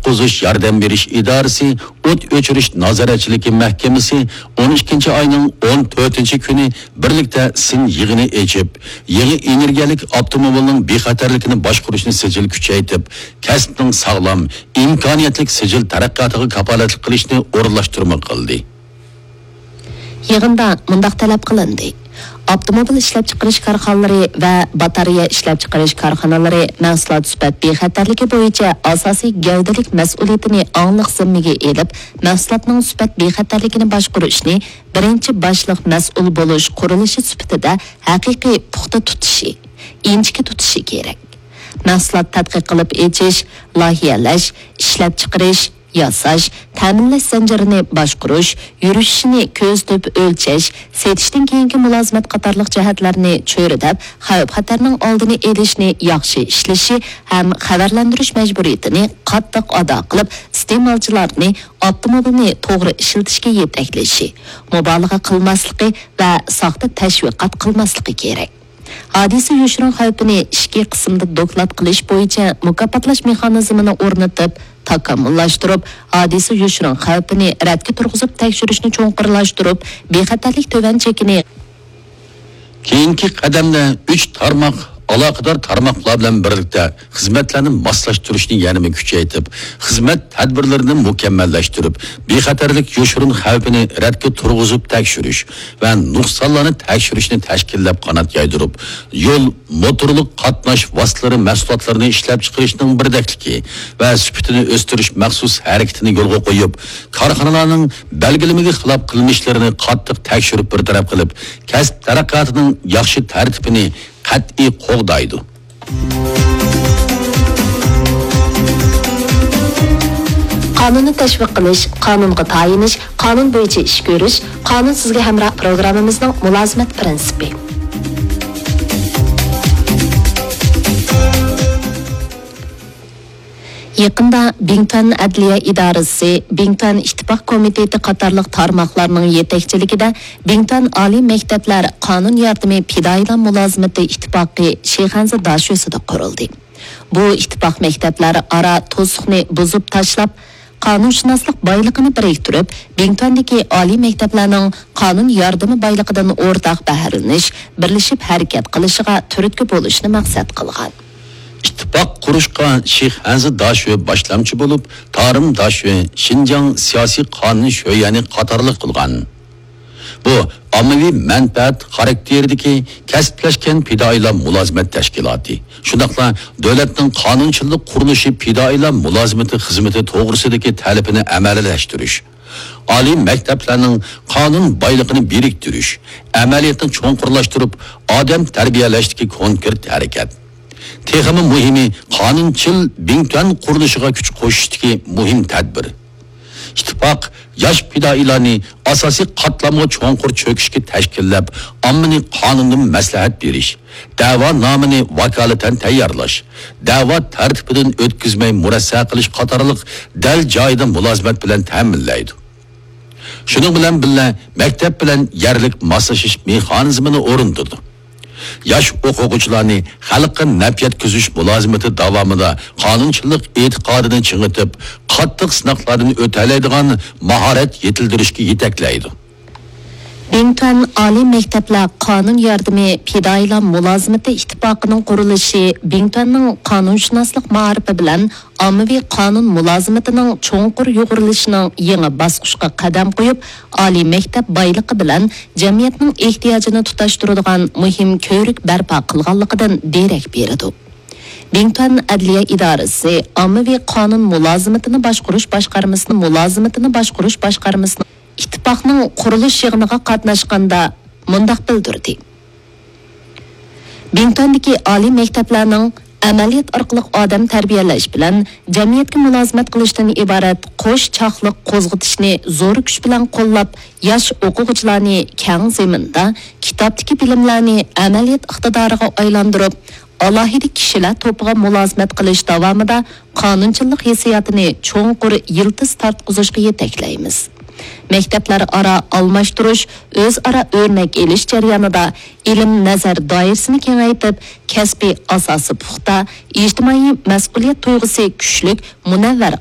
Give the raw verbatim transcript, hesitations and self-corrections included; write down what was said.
قۇتقۇزۇش ياردەم بېرىش ئىدارىسى، ئوت ئۆچۈرۈش نازارەتچىلىكى مەھكىمىسى ئون ئىككىنچى ئاينىڭ ئون تۆتىنچى كۈنى بىرلىكتە سىن يىغىنى ئېچىپ، يېڭى ئېنېرگىيەلىك ئاپتوموبىلنىڭ بىخەتەرلىكىنى باشقۇرۇشنى سىجىل كۈچەيتىپ، كەسىپنىڭ ساغلام، ئىمكانىيەتلىك سىجىل تەرەققىياتىغا كاپالەتلىك قىلىشنى ئورۇنلاشتۇرما قىلدى. يىغىندا مۇنداق تەلەپ قىلىندى: ئاپتوموبىل ئىشلەپچىقىرىش كارخانىلىرى ۋە باتارېيە ئىشلەپچىقىرىش كارخانىلىرى مەھسۇلات سۈپەت بىخەتەرلىكى بويىچە ئاساسىي گەۋدىلىك مەسئۇلىيىتىنى ئاڭلىق زىممىگە ئېلىپ، مەھسۇلاتنىڭ سۈپەت بىخەتەرلىكىنى باشقۇرۇشنى بىرىنچى باشلىق مەسئۇل بولۇش قۇرۇلۇشى سۈپىتىدە ھەقىقىي پۇختا تۇتۇشى، ئىنچىكە تۇتۇشى كېرەك. مەھسۇلات تەتقىق قىلىپ ئېچىش، لايىھەلەش، ئىشلەپچىقىرىش، ياساش، تەمىنلەش زەنجىرىنى باشقۇرۇش، يۈرۈشۈشىنى كۆزىتىپ ئۆلچەش، سېتىشتىن كېيىنكى مۇلازىمەت قاتارلىق جەھەتلەرنى چۆرىدەپ، خەۋپ-خەتەرنىڭ ئالدىنى ئېلىشنى ياخشى ئىشلىشى ھەم خەۋەرلەندۈرۈش مەجبۇرىيىتىنى قاتتىق ئادا قىلىپ، ئىستېمالچىلارنى ئاپتوموبىلنى توغرا ئىشلىتىشكە يېتەكلىشى، مۇبالىغە قىلماسلىقى ۋە ساختا تەشۋىقات قىلماسلىقى كېرەك. ھادىسە يوشۇرۇن خەۋپىنى ئىچكى قىسىمدا دوكلات قىلىش بويىچە مۇكاپاتلاش مېخانىزمىنى ئورنىتىپ، تاكامۇللاشتۇرۇپ، ھادىسە يوشۇرۇن خەۋپىنى رەتكە تۇرغۇزۇپ تەكشۈرۈشنى چوڭقۇرلاشتۇرۇپ، بىخەتەرلىك تۆۋەن چېكىنى. كېيىنكى قەدەمدە ئۈچ تارماق ئالاقىدار تارماقلار بىلەن بىرلىكتە خىزمەتلەرنى ماسلاشتۇرۇشنى يەنىمۇ كۈچەيتىپ، خىزمەت تەدبىرلىرىنى مۇكەممەللەشتۈرۈپ، بىخەتەرلىك يوشۇرۇن خەۋپىنى رەتكە تۇرغۇزۇپ تەكشۈرۈش ۋە نۇقسانلارنى تەكشۈرۈشنى تەشكىللەپ قانات يايدۇرۇپ، يول، موتورلۇق قاتناش ۋاسىتىلىرى مەھسۇلاتلىرىنى ئىشلەپچىقىرىشنىڭ بىردەكلىكى ۋە سۈپىتىنى ئۆستۈرۈش مەخسۇس ھەرىكىتىنى يولغا قويۇپ، كارخانىلارنىڭ بەلگىلىمىگە خىلاپ قىلمىشلىرىنى قاتتىق تەكشۈرۈپ بىر تەرەپ قىلىپ، كەسىپ تەرەققىياتىنىڭ ياخشى تەرتىپىنى قەتئىي قوغدايدۇ. قانۇننى تەشۋىق قىلىش، قانۇنغا تايىنىش، قانۇن بويىچە ئىش كۆرۈش، قانۇن سىزگە ھەمراھ پروگراممىمىزنىڭ مۇلازىمەت پىرىنسىپى. يېقىندا بىڭتۈەن ئەدلىيە ئىدارىسى، بىڭتۈەن ئىتتىپاق كومىتېتى قاتارلىق تارماقلارنىڭ يېتەكچىلىكىدە بىڭتۈەن ئالىي مەكتەپلەر قانۇن ياردىمى پىدائىيلار مۇلازىمىتى ئىتتىپاقى شىخەنزە داشۆسىدە قۇرۇلدى. بۇ ئىتتىپاق مەكتەپلەر ئارا توسۇقنى بۇزۇپ تاشلاپ، قانۇنشۇناسلىق بايلىقىنى بىرىكتۈرۈپ، بىڭتۈەندىكى ئالىي مەكتەپلەرنىڭ قانۇن ياردىمى بايلىقىدىن ئورتاق بەھرىلىنىش، بىرلىشىپ ھەرىكەت قىلىشىغا تۈرتكە بولۇشنى مەقسەت قىلغان. ئىتتىپاق قۇرۇشقا شىخەنزە داشۆ باشلامچى بولۇپ، تارىم داشۆ، شىنجاڭ سىياسىي قانۇن شۆيۈەنى قاتارلىق قىلغان. بۇ ئاممىۋى مەنپەئەت خاراكتېرىدىكى كەسىپلەشكەن پىدائىيلار مۇلازىمەت تەشكىلاتى، شۇنداقلا دۆلەتنىڭ قانۇنچىلىق قۇرۇلۇشى پىدائىيلار مۇلازىمىتى خىزمىتى توغرىسىدىكى تەلىپىنى ئەمەلىيلەشتۈرۈش، ئالىي مەكتەپلەرنىڭ قانۇن بايلىقىنى بىرىكتۈرۈش، ئەمەلىيەتنى چوڭقۇرلاشتۇرۇپ، ئادەم تەربىيەلەشتىكى كونكرېت ھەرىكەت. تېخىمۇ مۇھىمى، قانۇنچىل بىڭتۈەن قۇرۇلۇشىغا كۈچ قوشۇشتىكى مۇھىم تەدبىر. ئىتتىپاق ياش پىدائىيلارنى ئاساسىي قاتلامغا چوڭقۇر چۆكۈشكە تەشكىللەپ، ئاممىنى قانۇندىن مەسلىھەت بېرىش، دەۋانامىنى ۋاكالىتەن تەييارلاش، دەۋا تەرتىپىدىن ئۆتكۈزمەي مۇرەسسە قىلىش قاتارلىق دەل جايىدا مۇلازىمەت بىلەن تەمىنلەيدۇ. شۇنىڭ بىلەن بىللە، مەكتەپ بىلەن يەرلىك ماسلىشىش مېخانىزمىنى ئورنىتىدۇ. ياش ئوقۇغۇچىلارنى خەلققە نەپ يەتكۈزۈش مۇلازىمىتى داۋامىدا قانۇنچىلىق ئېتىقادىنى چىڭىتىپ، قاتتىق سىناقلاردىن ئۆتەلەيدىغان ماھارەت يېتىلدۈرۈشكە يېتەكلەيدۇ. بىڭتۈەن ئالىي مەكتەپلەر قانۇن ياردىمى پىدائىيلار مۇلازىمىتى ئىتتىپاقىنىڭ قۇرۇلۇشى بىڭتۈەننىڭ قانۇنشۇناسلىق مائارىپى بىلەن ئاممىۋى قانۇن مۇلازىمىتىنىڭ چوڭقۇر يۇغۇرۇلۇشىنىڭ يېڭى باسقۇچقا قەدەم قويۇپ، ئالىي مەكتەپ بايلىقى بىلەن جەمئىيەتنىڭ ئېھتىياجىنى تۇتاشتۇرىدىغان مۇھىم كۆۋرۈك بەرپا قىلغانلىقىدىن دېرەك بېرىدۇ. بىڭتۈەن ئەدلىيە ئىدارىسى ئاممىۋى قانۇن مۇلازىمىتىنى باشقۇرۇش باشقارمىسىنى، مۇلازىمىتىنى باشقۇرۇش باشقارمىسىنى ئىتتىپاقنىڭ قۇرۇلۇش يىغىنىغا قاتناشقاندا مۇنداق بىلدۈردى. بىڭتۈەندىكى ئالىي مەكتەپلەرنىڭ ئەمەلىيەت ئارقىلىق ئادەم تەربىيەلەش بىلەن جەمئىيەتكە مۇلازىمەت قىلىشتىن ئىبارەت قوش چاقلىق قوزغىتىشنى زور كۈچ بىلەن قوللاپ، ياش ئوقۇغۇچىلارنى كەڭ زېمىندا كىتابتىكى بىلىملەرنى ئەمەلىيەت ئىقتىدارىغا ئايلاندۇرۇپ، ئالاھىدە كىشىلەر توپىغا مۇلازىمەت قىلىش داۋامىدا قانۇنچىلىق ھېسسىياتىنى چوڭقۇر يىلتىز تارتقۇزۇشقا يېتەكلەيمىز. مەكتەپلەر ئارا ئالماشتۇرۇش، ئۆزئارا ئۆرنەك ئېلىش جەريانىدا ئىلىم نەزەر دائىرىسىنى كېڭەيتىپ، كەسپىي ئاساسى پۇختا، ئىجتىمائىي مەسئۇلىيەت تۇيغۇسى كۈچلۈك، مۇنەۋۋەر،